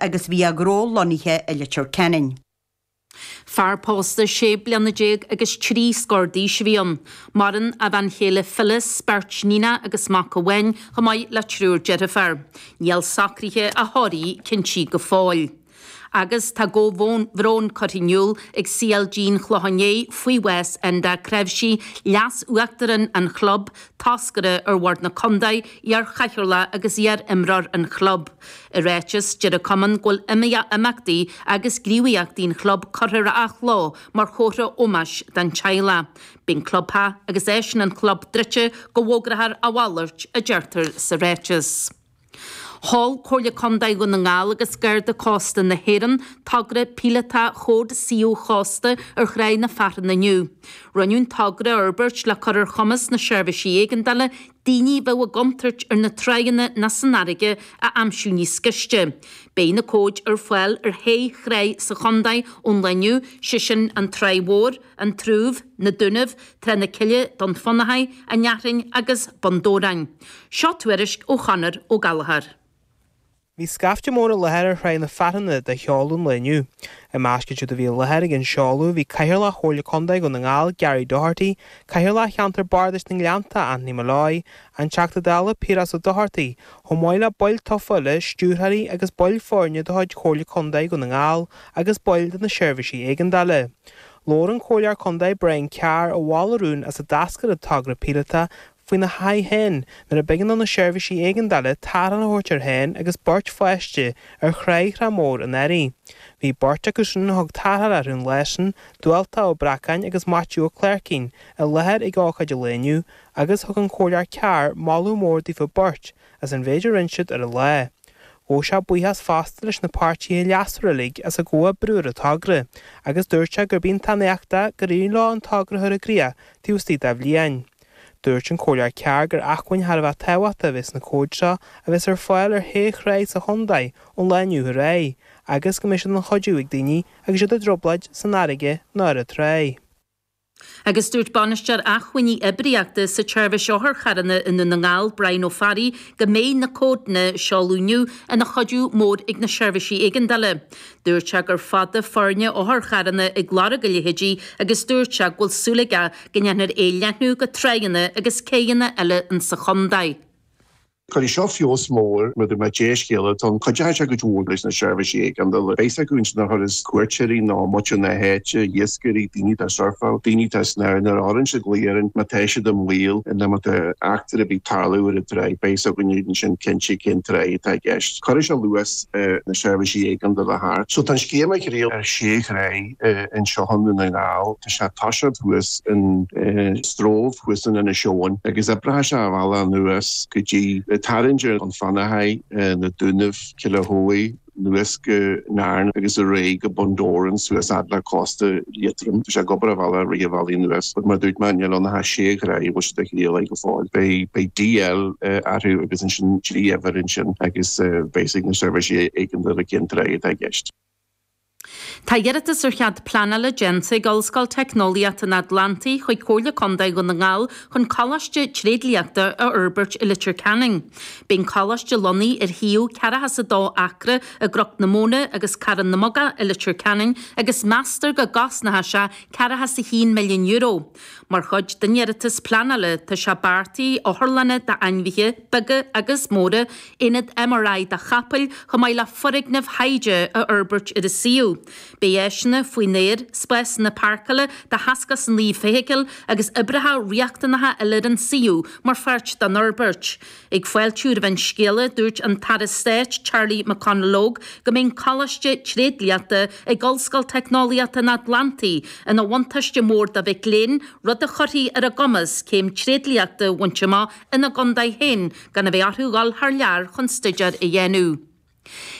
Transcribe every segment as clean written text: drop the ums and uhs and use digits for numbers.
Agus bhí a ghnó lonnaithe i Leitir Ceanainn. Fear pósta 16 bliana agus 3 scór d'aois a bhí ann. Maireann a bhean chéile Phyllis, beirt níonacha agus mac amháin, chomh maith le triúr deirfiúr. Níl socruithe a thórraimh cinntithe go fóill. Agus tá comhbhrón curtha in iúl ag CLG an Chlocháin Léith faoi bhás Enda Creimhsí, Leas-Uachtarán an chlub, toscaire ar Bhord na Condae, iar-chathaoirleach agus iar-imreoir an chlub. I ráiteas, deir an cumann go bhfuil imeachtaí agus gníomhaíochtaí an chlub curtha ar athló mar chomhartha ómóis don teaghlach. Beidh an clubtheach agus áiseanna an chlub druidte go bhfógrófar a mhalairt, a deirtear sa ráiteas. Sheol Comhairle Contae Dhún na nGall agus Garda Cósta na hÉireann togra píolótach Chód Suíomh Chósta ar Thráigh na Fearthann inniu. Rinneadh an togra a fhorbairt le cur ar chumas na seirbhísí éigeandála daoine a bheadh i gcontúirt ar na tráigheanna ná san fharraige a aimsiú níos gaiste. Beidh na cóid ar fáil ar shé thráigh sa chontae ón lá inniu, sé sin an Tráigh Mhór, An Trúbh, Na Dúnaibh, Trá na Cille, Dún Fionnachaidh, An Fhearthainn agus Bun Dobhráin. Seo tuairisc ó Chonor Ó Gallchóir. Bhí scaifte mór i láthair ar Thráigh na Fearthanna do sheoladh an lae inniu. I measc iad siúd a bhí i láthair ag an seoladh bhí Cathaoirleach Chomhairle Contae Dhún na nGall, Gary Doherty, Cathaoirleach Cheantar Bardais na nGleannta, Anthony Molloy, an Teachta Dála Piaras Ó Dochartaigh, chomh maith le baill tofa eile, stiúrthóirí agus baill foirne de chuid Chomhairle Contae Dhún na nGall agus baill de na seirbhísí éigeandála. Labhair an Comhairleoir Contae Brian Carr a mhol an rún as a d'eascair an togra píolótach faoina thaithí féin nuair a b'éigean do na seirbhísí éigeandála tarrtháil a thabhairt air féin agus beirt pháiste ar thráigh Thrá Mhór anuraidh. Bhí beirt acu sin a thug tarrtháil orthu an lá sin, Dualta Ó Breacáin agus Maitiú Ó Cléircín, i láthair ag ócáid an lae inniu agus thug an Comhairleoir Carr moladh mór daofa beirt as an mhéid a rinne siad ar an lá. Ghabh sé buíochas fosta leis na páirtithe leasmhara uilig as a gcomhoibriú ar an togra agus dúirt sé gurb iontach an éacht é gur éirigh leo an togra a chur i gcrích taobh istigh de bhliain. Dúirt an Comhairleoir Carr gur acmhainn thar a bheith tábhachtach a bheas sna cóid seo a bheas ar fáil ar shé thráigh sa chontae ón lá inniu ar aghaidh agus go mbeidh siad ina chuidiú ag daoine agus iad i dtrioblóid san fharraige nó ar an tráigh. Agus dúirt Bainisteoir Acmhainní Oibríochta sa tSeirbhís Otharcharranna i nDún na nGall, Brian Ó Fearraigh, go mbeidh na códanna a seoladh inniu ina chuidiú mór ag na seirbhísí éigeandála. Dúirt sé gur fada foirne otharcharranna ag lorg a leithéidí agus dúirt sé go bhfuil súil aige go ndéanfar é a leathnú go tráigheanna agus céidheanna eile insa chontae. Cuirfidh seo feabhas mór, mar dúirt mé, dea-scéala atá ann. Cuideoidh sé cuid mhór leis na seirbhísí éigeandála. Beidh a fhios acu ansin a chuireas cuairteoirí nó muintir na háite, iascairí, daoine atá ag surfáil, daoine atá ag snámh, nuair a chuireann siad glao orainn má tá siad i mbaol nó má tá eachtra ar bith ag tarlú ar an tráigh, beidh a fhios againn ansin cinnte cén tráigh atá i gceist. Cuirfidh sé luas na seirbhísí éigeandála thart. So tá an scéim á thriail ar sé thráigh anseo i nDún na nGall. Tá sé ag toiseacht thuas in Stroove thuas in Inis Eoghain agus oibreoidh sé a bhealach anuas go dtí ag tarraingt ar Dún Fionnachaidh, na Dúnaibh, Cill Achóidh, anuas go Nairn agus ar aghaidh go Bun Dobhráin suas fhad le cósta Liatroim. Tá sé ag obair a bhealach rith an bhealaigh anuas but mar a dúirt mé níl ann ach sé thráigh a bhfuil siad á thriail go fóill. Beidh beidh DL orthu agus ansin trí uimhir ansin agus beidh a fhios ag na seirbhísí éigeandála cén tráigh atá i gceist. Tá iarratas ar chead pleanála déanta ag Ollscoil Teicneolaíochta an Atlantaigh chuig Comhairle Contae Dhún na nGall chun coláiste tréidliachta a fhorbairt i Leitir Ceanainn. Beidh an coláiste lonnaithe ar shuíomh 42 acra i gCnoc na Móna agus Carn na mBogach i Leitir Ceanainn agus meastar go gcosnóidh sé €41 milliún. Mar chuid den iarratas pleanála, tá sé beartaithe otharlanna d'ainmhithe, beaga agus móra, aonad MRI do chapaill, chomh maith le foirgnimh thaighde a fhorbairt ar an suíomh. Beidh áiseanna faoin aer, spásanna páirceála do 69 feithicil agus oibreacha riachtanacha eile ar an suíomh mar pháirt den fhorbairt. Ag fáiltiú roimh an scéala, dúirt an tAire Stáit Charlie McConalogue go mbeidh an Coláiste Tréidliachta ag Ollscoil Teicneolaíochta an Atlantaigh ina bhuntáiste mór do mhic léinn, rud a chuirfidh ar a gcumas céim tréidliachta a bhaint amach ina gcontae féin gan a bheith orthu dhul thar lear chun staidéar a dhéanamh.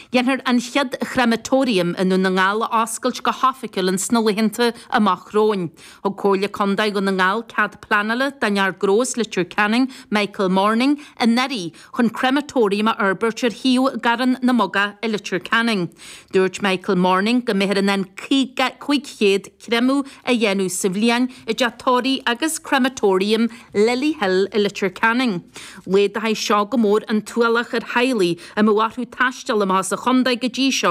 Dhéanfar an chéad chrematorium i nDún na nGall a oscailt go hoifigiúil ins na laethanta amach romhainn. Thug Comhairle Contae Dhún na nGall cead pleanála don fhear gnó as Leitir Ceanainn, Michael Morning, anuraidh chun crematorium a fhorbairt ar shuíomh i gCarn na mBogach i Leitir Ceanainn. Dúirt Michael Morning go mbeifear in ann 500 créamadh a dhéanamh sa bhliain i dteach tórraimh agus crematorium Lily Hill i Leitir Ceanainn. Laghdóidh seo go mór an t-ualach ar theaghlaigh a mbeadh orthu taisteal amach as an. sa chontae go dtí seo.